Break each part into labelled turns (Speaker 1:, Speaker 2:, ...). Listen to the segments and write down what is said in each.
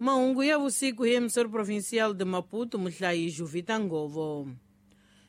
Speaker 1: Mahungu ya vusiku hi emissor provincial de Maputo, muhlayi Juvita Ngovo.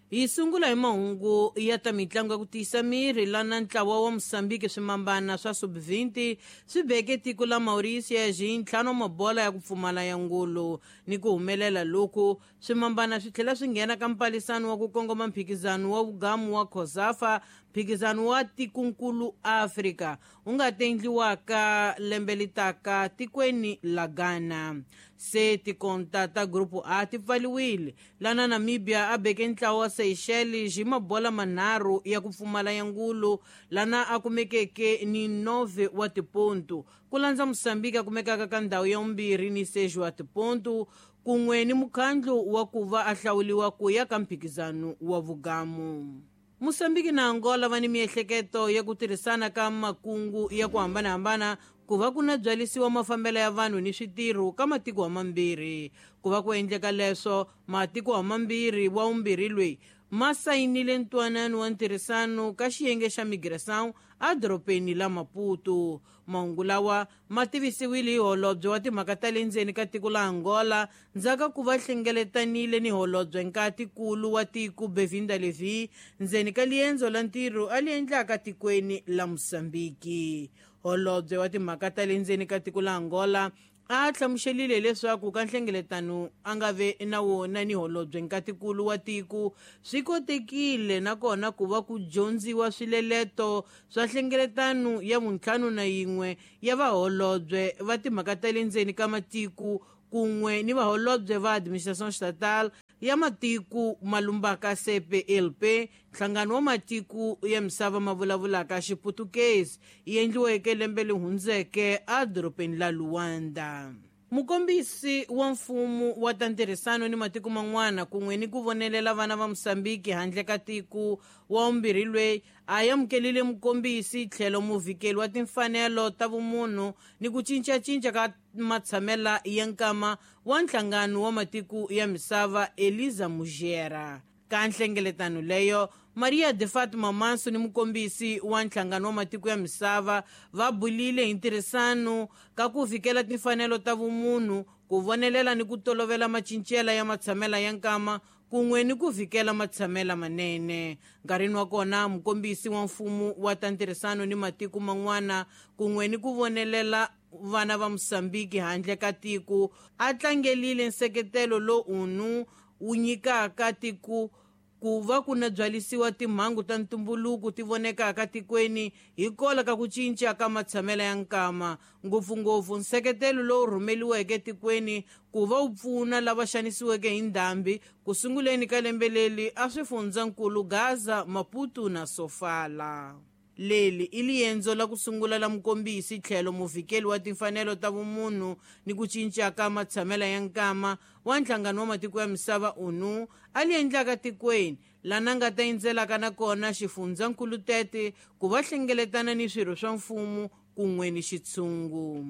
Speaker 1: Hi sungula hi mahungu ya ta mitlangu ya ku tiyisa miri, lana ntlawa wa Mosambiki swimambana swa sub-20 swi beke tiko la Mauritius hi ntlhanu wa mabola ya ku pfumala ya ngulu. Ni ku humelela loku, swimambana swi tlhela swi nghena ka mpalisano wa ku kongoma mphikizano wa vugamu wa COSAFA, mphikizano wa tikunkulu Afrika wu nga ta endliwaka lembe litaka tikweni la Ghana. Se tikonta ta grupu A ti pfaliwile, lana Namibia a beke ntlawa wa Seychelles hi mabola manharhu ya ku pfumala ya ngulu, lana a kumekeke ni 9 wa tipontu, ku landza Mosambiki a kumekaka ka ndhawu ya vumbirhi ni 6 wa tipontu, kun'we ni mukhandlu wa ku va a hlawuliwa ku ya ka mphikizano wa vugamu. Mosambiki na Angola va ni miehleketo ya ku tirhisana ka makungu ya ku hambanahambana ku va ku na byalisiwa mafambelo ya vanhu ni switirho ka matiko hamambirhi. Ku va ku endleka leswo, matiko hamambirhi wa vumbirhi loyi ma sayinile ntwanano wa ntirhisano ka xiyenge xa migração edorobeni la Maputo. Mahungu lawa ma tivisiwile hi holobye wa timhaka ta le ndzeni ka tiko la Angola ndzhaku ku va hlengeletanile ni holobye nkatikulu wa tiko Bevinda Levy ndzeni ka liendzo la ntirho a li endlaka tikweni la Mosambiki. Holobye wa timhaka ta le ndzeni ka tiko la Angola a hlamuselile leswaku ka nhlengeletano a nga ve na wona ni holobye nkatikulu wa tiko swi kotekile nakona ku va ku dyondziwa swileleto swa nhlengeletano ya vuntlhanu na yin'we ya vaholobye va timhaka ta le ndzeni ka matiko kun'we ni vaholobye va administration estatal ya matiko malumbaka CPLP, nhlangano wa matiko ya misava ma vulavulaka Xiputukezi, yi endliweke lembe leri hundzeke edorobeni la Luanda. Mukombisi wa mfumo wa ta ntirhisano ni matiko man'wana kun'we ni ku vonelela vana va Mosambiki handle ka tiko wa vumbirhi loyi a amukelile mukombisi tlhelo muvhikeli wa timfanelo ta vumunhu ni ku cincacinca ka matshamela ya nkama wa nhlangano wa matiko ya misava Eliza Mujera. Ka nhlengeletano leyo, Maria de Fatima Manso ni mukombisi wa nhlangano wa matiko ya misava va bulile hi ntirhisano ka ku vikela timfanelo ta vumunhu, ku vonelela ni ku tolovela macincela ya matshamela ya nkama kun'we ni ku vikela matshamela manene. Nkarhini wa kona, mukombisi wa mfumo wa ta ntirhisano ni matiko man'wana kun'we ni ku vonelela vana va Mosambiki handle ka tiko a tlangelile nseketelo lowu unu wu nyikaka tiko ku va ku na byalisiwa timhangu ta ntumbuluko ti vonekaka tikweni hikola ka ku cinca ka matshamela ya nkama, ngopfungopfu nseketelo lowu rhumeliweke tikweni ku va wu pfuna lava xanisiweke hi ndhambi ku sunguleni ka lembe leri a swifundzankulu Gaza, Maputo na Sofala. Leli i liendzo la ku sungula la mukombisi tlhelo muvikeli wa timfanelo ta vumunhu ni ku cinca ka matshamela ya nkama wa nhlangano wa matiko ya misava ONU a li endlaka tikweni lana nga ta endzelaka nakona xifundzankulu Tete ku va hlengeletana ni swirho swa mfumo kun'we ni xitshungu.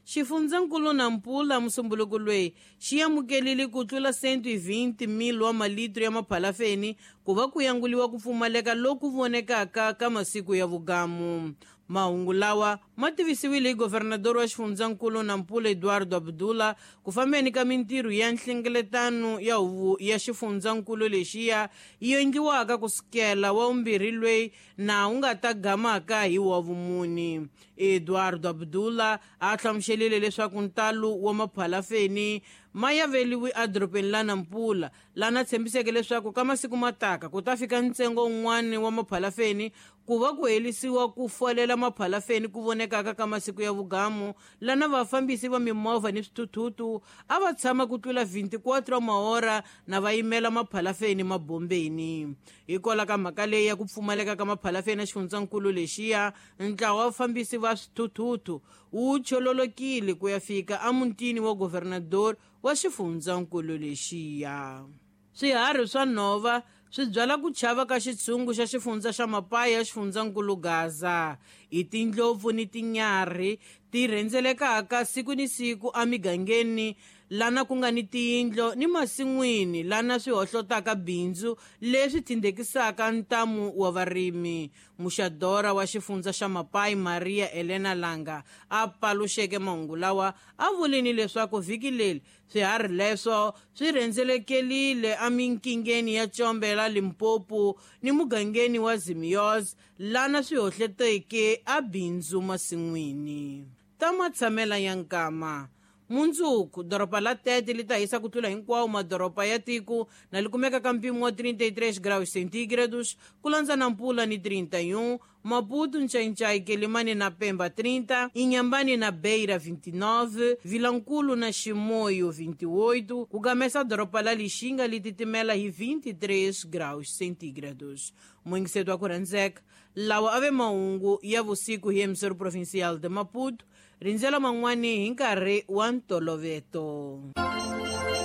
Speaker 1: Xifundzankulu Nampula musumbuluko loyi xi amukelile ku tlula 120,000 wa malitro ya maphalafeni ku va ku yanguliwa ku pfumaleka loku vonekaka ka masiku ya vugamu. Mahungu lawa ma tivisiwile hi governador wa xifundzankulu Nampula Eduardo Abdullah ku fambeni ka mintirho ya nhlengeletano ya huvo ya xifundzankulu lexiya yi endliwaka kusukela wa vumbirhi loyi na wu nga ta gamaka hi wa vumuni. Eduardo Abdullah a hlamuselile leswaku ntalo wa maphalafeni ma yaveliwi edorobeni la Nampula, lana tshembiseke leswaku ka masiku mataka ku ta fika ntsengo wun'wana wa maphalafeni ku va ku helisiwa ku folela maphalafeni ku vonekaka ka masiku ya vugamu, lana vafambisi va mimovha ni swithuthutu a va tshama ku tlula 24 mahora na va yimela maphalafeni mabombeni. Hikwalaho ka mhaka leyi ya ku pfumaleka ka maphalafeni ya xifundzankulu lexiya, ntlawa wa vafambisi va swithuthutu wu chololokile ku ya fika emutini wa governador wa xifundzankulu lexiya. Swiharhi swa nhova swi byala ku chava ka xitshungu xa xifundza xa Mapaya xifundzankulu Gaza. Hi tindlopfu ni tinyarhi ti rhendzelekaka siku ni siku emigangeni lana ku nga ni tiyindlo ni masin'wini lana swi hohlotaka bindzu leswi tindekisaka ntamu wa varimi. Muxadora wa xifundza xa Mapai, Maria Elena Langa, a paluxeke mahungu lawa, a vulini leswaku vhiki leri swiharhi leswo swi rhendzelekelile eminkingeni ya Tshombe la Limpopo ni mugangeni wa Zimioz, lana swi hohleteke a bindzu masin'wini. Ta matshamela ya nkama. Mundzuku doroba la Tete li ta hisa ku tlula hinkwawo madoroba ya tiko na li kumeka ka mpimo wa 33 graus centígrados, ku landza na Mpula ni 31, Maputo, Nchainchai, Quelimane na Pemba 30, Inhambane na Beira 29, Vilankulo na Chimoio 28, ku gamesa doroba la Lixinga li titimela hi 23 graus centígrados. Moingiseto wa ku rhandzeka, lawa ave mahungu ya vusiku hi emissoro provincial de Maputo. Rindzela man'wani hi nkarhi wa ntoloveto.